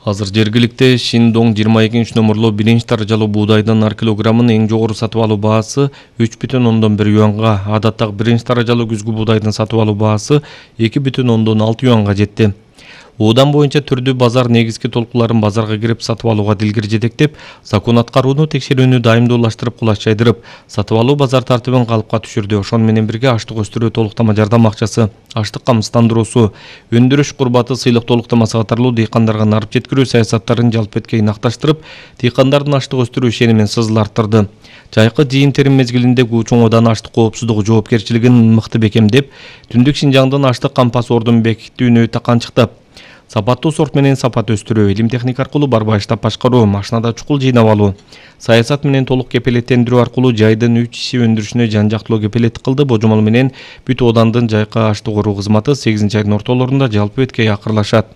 Азыр жергиликте Шиндоң 22 номерлуу 1 даражалуу буудайдын ар килограммын эң жогору сатып алуу баасы 3,1 юанга, адаттагы 1 даражалуу күзгү буудайдын сатып алуу баасы 2,6 юанга жетти. Оодан боюнча түрдүү базар негизги толкуларын базарга кирип сатып алууга дилгир жетектеп, закон аткарууну текшерүүнү дайымдуулаштырып, кулач жайдырып, сатып алуу базар тартибин калыпка түшүрдү. Ошону менен бирге аштык өстүрүү толуктама жардам акчасы, аштык камсыздандыруусу, өндүрүш курбаты, сыйлык толуктамасы катарлуу дыйкандарга нарып жеткирүү саясаттарын жалпы эткей накташтырып, дыйкандардын аштык өстүрүү ишенимин сызыл арттырды. Жайкы жыйын-терим мезгилинде Чоңодан аштык коопсуздугу жоопкерчилигин мыкты бекемдеп, Түндүк Шинжаңдын аштык кампас ордун бекиттүүнү таканчыктап, сапаттуу сорт менен сапат өстүрүү, илим техника аркылуу барбай штаб башкаруу, машинада чукул жыйнап алуу, саясат менен толук кепилеттендирүү аркылуу жайдын 3 иши өндүрүшүнө жан-жактылуу кепилеттик кылды. Божомол менен Бүт Оодандын жайкы аштык оруу кызматы 8 айдын ортолорунда жалпы эткей акырлашат.